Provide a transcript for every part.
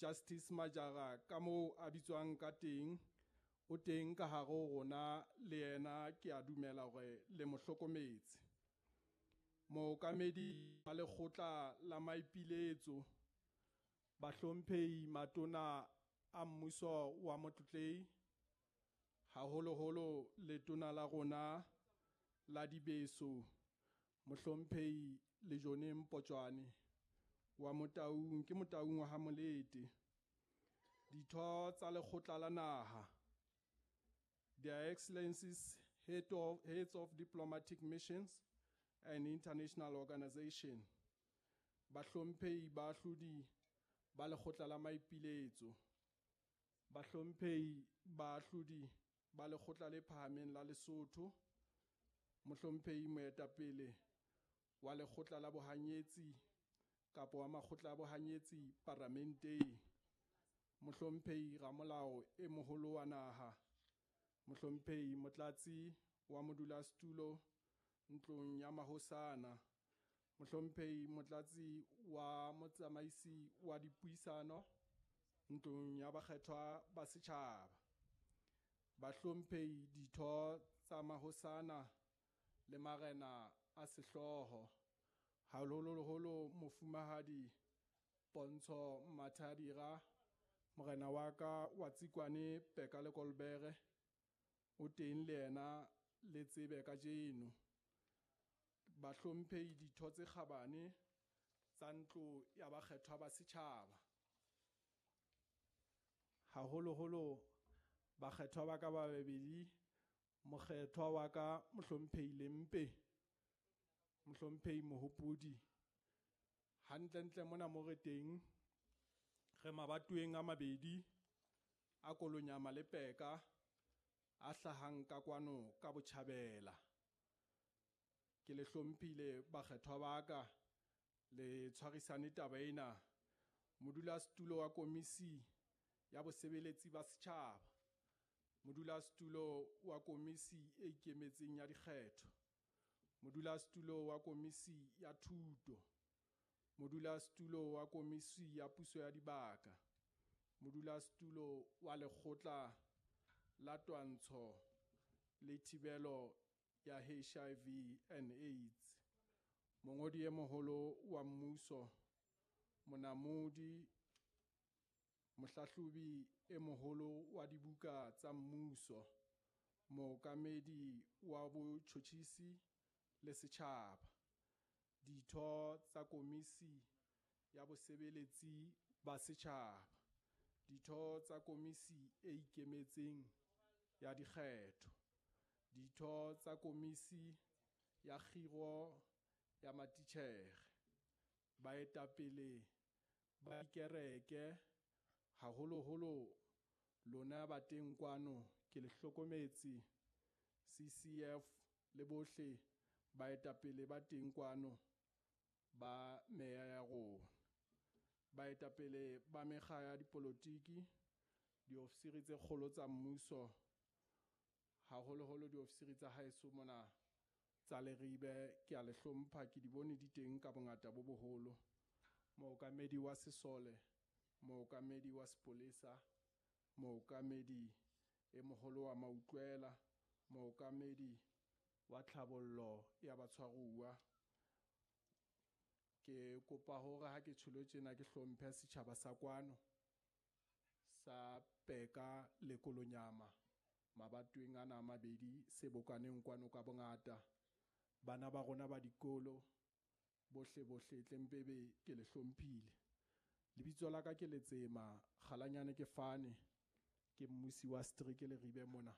Justice Majara ka moo a bitswang ka teng o teng ka hare ho rona le yena ke a dumela hore le mo hlokometse. Mookamedi wa lekgotla la maipiletso, bahlomphehi matona a mmuso wa Motlotlehi, haholoholo letona la rona la dibeso mohlomphehi Lejone Mpotjwane wa Motaung ke Motaung wa ha Molete. Ditho tsa lekgotla la naha, Their Excellencies heads of diplomatic missions and international organization, bahlomphehi baahlodi ba lekgotla la maipiletso, bahlomphehi baahlodi ba lekgotla le phahameng la Lesotho, mohlomphehi moetapele wa lekgotla la bohanyetsi kapa wa makgotla a bohanyetsi paramenteng, mohlomphehi ramolao e moholo wa naha, mohlomphehi motlatsi wa modulasetulo ntlong ya mahosana, mohlomphehi motlatsi wa motsamaisi wa dipuisano ntlong ya bakgethwa ba setjhaba, bahlomphehi ditho tsa mahosana le marena a sehlooho, haholoholo mofumahadi Pontsho Mathadira morena wa ka wa Tsikwane Peka le Kolbere o teng le yena le tsebe kajeno. Bahlomphehi ditho tse kgabane tsa ntlo ya bakgethwa ba setjhaba, haholoholo bakgethwa ba ka ba babedi, mokgethwa wa ka mohlomphehi Lempe, mohlomphehi Mohopodi. Hantlentle mona mo re teng re mabatoweng a mabedi a Kolonyama le Peka a hlahang ka kwano ka botjhabela. Ke le hlomphile bakgethwa ba ka, le tshwarisane taba ena. Modulasetulo wa komisi ya bosebeletsi ba setjhaba, modulasetulo wa komisi e ikemetseng ya dikgetho, modulasetulo wa komisi ya thuto, modulasetulo wa komisi ya puso ya dibaka, modulasetulo wa lekgotla la twantsho le thibelo ya HIV and AIDS, mongodi e moholo wa mmuso, monamodi, mohlahlobi e moholo wa dibuka tsa mmuso, mookamedi wa botjhotjhisi le setjhaba, ditho tsa komisi ya bosebeletsi ba setjhaba, ditho tsa komisi e ikemetseng ya dikgetho, ditho tsa komisi ya kgiro ya matitjhere, baetapele ba dikereke, haholoholo lona ba teng kwano ke le hlokometse, CCF le bohle baetapele ba teng kwano ba meya ya rona, baetapele ba mekga ya dipolotiki, diofisiri tse kgolo tsa mmuso, haholoholo diofisiri tsa haeso mona tsa Leribe, ke a le hlompha, ke di bone di teng ka bongata bo boholo. Mookamedi wa sesole, mookamedi wa sepolesa, mookamedi e moholo wa mautlwela, mookamedi wa tlhabollo ya batshwaruwa. Ke kopa hore ha ke tjholo tjena ke hlomphe setjhaba sa kwano sa Peka le Kolonyama mabatoweng ana a mabedi se bokaneng kwano ka bongata. Bana ba rona ba dikolo bohle bohle tlempebe ke le hlomphile. Lebitso la ka ke Letsema Kgalanyane ke fane, ke mmusi wa setereke Leribe mona.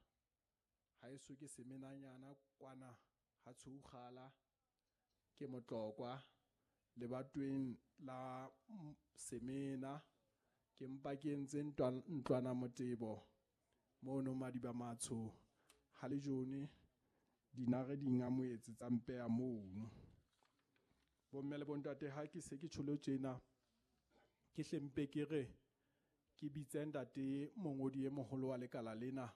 Haeso ke semenanyana kwana ha Tshoukgala, ke Motlokwa lebatoweng la Semena, ke mpa ke entse ntlwana motebo mono Madiba Matsho ha lejone dinare di ngamoetse tsa mpeha mono. Bomme le bontate, ha ke se ke tjholo tjena ke hlempe ke re ke bitse ntate mongodi e moholo wa lekala lena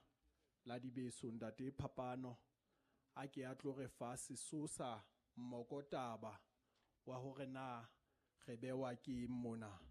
la dibeso, ntate Phapano, a ke a tlo re fa sesosa mmokotaba wa hore na re bewa ke eng mona.